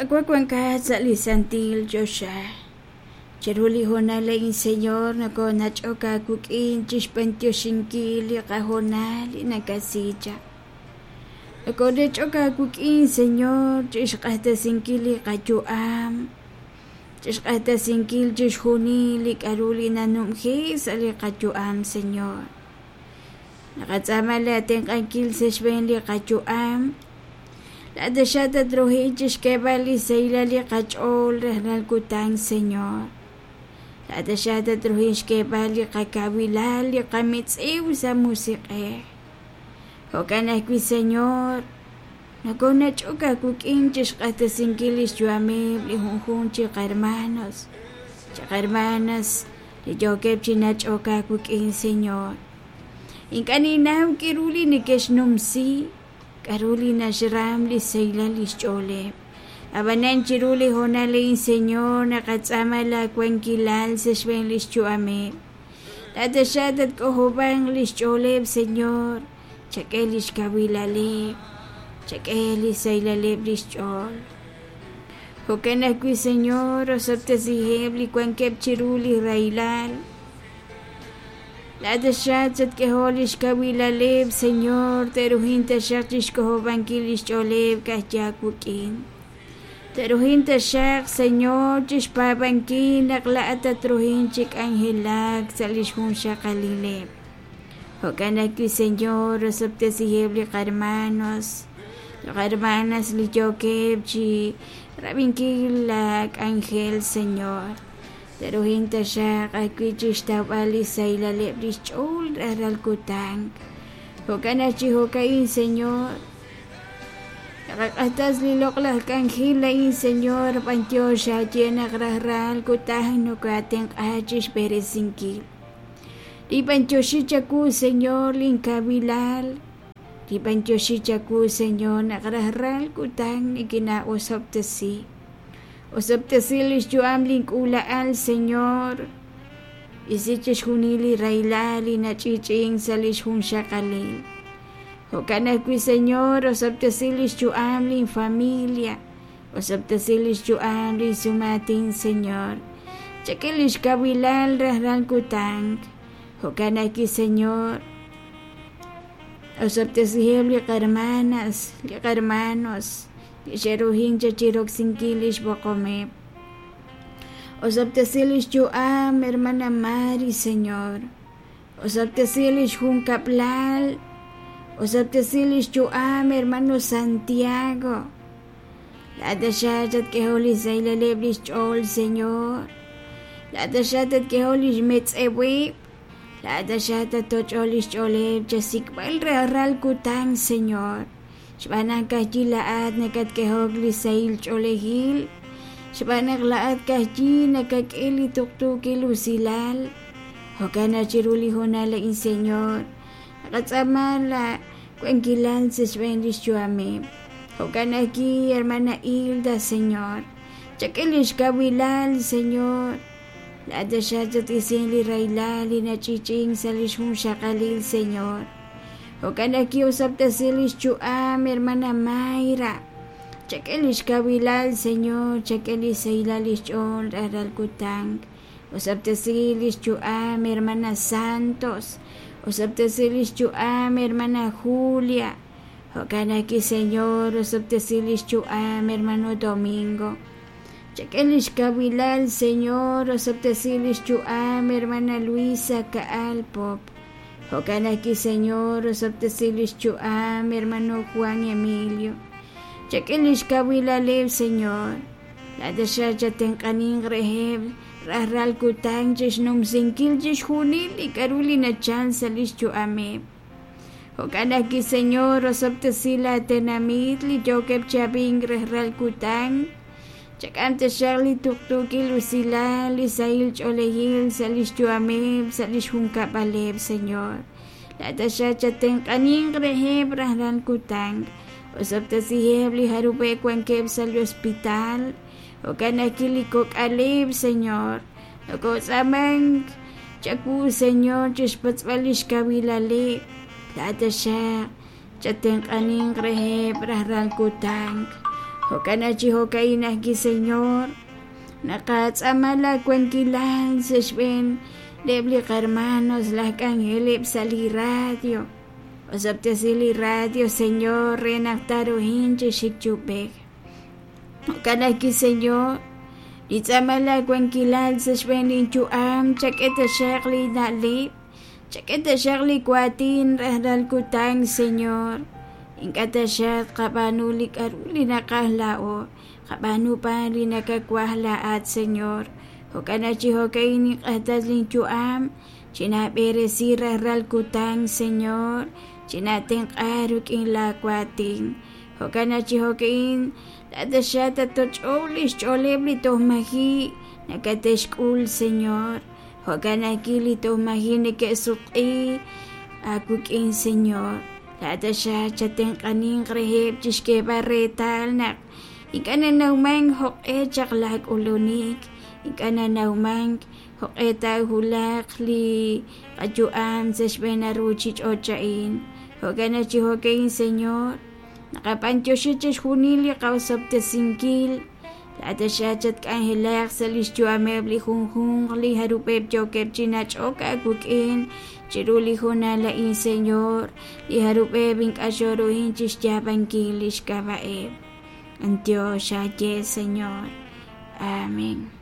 Qaawa' wankat sa' li santil choxa. Chiru li hoonal a'in, Señor, nokonach'ok aawik'in chixb'antioxinkil li qahoonal li nakasi chaq. Nokonach'ok aawik'in, Señor, chixq'axtesinkil li qayu'am, chixq'axtesinkil chixjunil li k'a'ru li nanumji sa' li qayu'am, Señor. Naqatz'aama laa tenq'ankil sa' xb'een li qayu'am. Laa'at taxaq tatruhi chixk'eeb'al li sahilal li qach'ool rajlal kutan, Señor. Laa'at taxaq tatruhi xk'eeb'al li qakawilal, li qamitz'iw sa' musiq'ej. Jo'kan ajwi', Señor, nokonach'ok aawik'in chixq'axtesinkil lix yu'ameb' li junjunq chi qahermanos, chi qahermanas li yookeb' chi nach'ok aawik'in, Señor. Ink'a' ninnaw k'a'ru li neke'xnumsi, k'a'ru li naxram li sahilal lix ch'ooleb'. A'b'anan chiru li hoonal a'in, Señor, naqatz'aama laa wankilal sa' xb'een lix yu'ameb'. Laa'at taxaq tatk'ojob'anq lix ch'ooleb', Señor, chak'e lix kawilaleb', chak'e lix sahilaleb' lix ch'ool. Jo'kan ajwi', Señor, osob'tesiheb' li wankeb' chiru li rahilal. Laa'at taxaq chatk'ehoq lix kawilaleb', Señor, te'ruhin taxaq chixk'ojob'ankil lix ch'ooleb' ka'ajwi' aawik'in. Te'ruhin taxaq, Señor, chixpaab'ankil naq laa'at tatruhin chi k'anjelak sa' lix junxaqalileb'. Jo'kan ajwi', Señor, osob'tesiheb' li qahermanos, li qahermanas li yookeb' chi rab'inkil laa k'anjel, Señor. Te'ruhin taxaq ajwi' chixtawb'al li sahilaleb' lix ch'ool rajlal kutan. Jo'kan naq chi jo'ka'in, Señor, naqaq'axtas li loq'laj k'anjel a'in, Señor, b'antiox aaye naq rajlal kutan nokoaatenq'a chixb'eresinkil. Ninb'antioxi chawu, Señor, lin kawilal. Ninb'antioxi chawu, Señor, naq rajlal kutan nikinaa'osob'tesi. Osob'tesi lix yu'am lin k'uula'al, Señor. Isi chixjunil li rahilal li nach'i'ch'i'ink sa' lix junxaqalil. Jo'kan ajwi', Señor, osob'tesi lix yu'am lin familia. Osob'tesi lix yu'am lin sumaatin, Señor. Chak'e lix kawilal rajlal kutan. Jo'kan ajwi', Señor, osob'tesiheb' li qahermanas, li qahermanos. Li xe'ruhin chaq chiroksinkil lix b'oqomeb'. Osob'tesi lix yu'am, hermana Mary, Señor. Osob'tesi lix junkab'lal. Osob'tesi lix yu'am, hermano Santiago. Laa'at taxaq chatk'ehoq li sahilaleb' lix ch'ool, Señor. Laa'at taxaq tatk'ehoq lix metz'eweb'. Laa'at taxaq tattoch'oq lix ch'ooleb' chasik'b'al rajlal kutan, Señor. Xb'aan naq ka'ajwi' laa'at nakatk'ehok li sahil ch'oolejil, xb'aan naq laa'at ka'ajwi' nakak'e li tuqtuukil usilal. Jo'kan naq chiru li hoonal a'in, Señor, naqatz'aama laa wankilal sa' xb'een lix yu'ameb'. Jo'kan ajwi', Hermana Hilda, Señor, chak'e lix kawilal, Señor. Laa'at taxaq chat-isinq li rahilal li nach'i'ch'i'ink sa' lix junxaqalil, Señor. Jo'kan naq ki'osob'tesi lix yu'am, hermana Mayra. Chak'e lix kawilal, Señor, chak'e lix sahilal lix ch'ool rajlal kutan. Osob'tesi lix yu'am, hermana Santos. Osob'tesi lix yu'am, hermana Julia. Jo'kan ajwi', Señor, osob'tesi lix yu'am, hermano Domingo. Chak'e lix kawilal, Señor, osob'tesi lix yu'am, hermana Luisa Ka'al Pop. Jo'kan ajwi', Señor, osob'tesi lix yu'am, hermano Juan Emilio. Chak'e lix kawilaleb', Señor. Laa'at taxaq chatenq'aninq reheb' rajlal kutan chixnumsinkil chixjunil li k'a'ru li nachal sa' lix yu'ameb'. Jo'kan ajwi', Señor, osob'tesi laa tenamit li yookeb' chi ab'ink rajlal kutan. Chak'am taxaq li tuqtuukil usilal, li sahil ch'oolejil sa' lix yu'ameb', sa' lix junkab'aleb', Señor. Laa'at taxaq chatenq'aninq reheb' rajlal kutan. Osob'tesiheb' li jarub'eb' wankeb' sa' li hospital. Jo'kan ajwi' li kok'aleb', Señor. Nokotz'aamank chawu, Señor, chixpatz'b'al lix kawilaleb'. Laa'at taxaq chatenq'aninq reheb' rajlal kutan. Jo'kan chi jo'ka'in ajwi', Señor, naqatz'aama laawankilal sa' xb'een eb' li qahermanos laj k'anjeleb' sa' li radio. Osob'tesi li radio, Señor, re naq taaruhin chi xik chi ub'ej. Jo'kan ajwi', Señor, li tz'aama laawankilal sa' xb'een linyu'am, chak'e taxaq li na'leb', chak'e taxaq li waatin rajlal kutan, Señor. Ink'a' taxaq qab'aanu li k'a'ru li naqaj laa'o, qab'aanu b'an li nakawaj laa'at, Señor. Jo'kan chi jo'ka'in ninq'axtes linyu'am, chinaab'eresi rajlal kutan, Señor, chinatenq'a rik'in laawaatin. Jo'kan chi jo'ka'in laa'at taxaq tatoch'ow li xch'ooleb' li toj maji' nakate'xk'ul, Señor. Jo'kan ajwi' li toj maji' neke'sutq'i aawik'in, Señor. Laa'at taxaq chatenq'aninq reheb' chixk'eeb'al reetal naq ink'a' nanawmank jo'q'e chaq laak'ulunik, ink'a' nanawmank jo'q'e taawulaq li qayu'am sa' xb'een ruuchich'och' a'in. Jo'kan chi jo'ka'in, Señor, naqab'antioxi chixjunil li qaosob'tesinkil. Laa'at taxaq chatk'anjelaq sa' li xyu'ameb' li junjunq li jarub'eb' yookeb' chi nach'ok aawik'in chiru li hoonal a'in, Señor, li jarub'eb' ink'a' xoruhin chi xyaab'ankil li xk'ab'a'eb'. Antiox aye, Señor. Amén.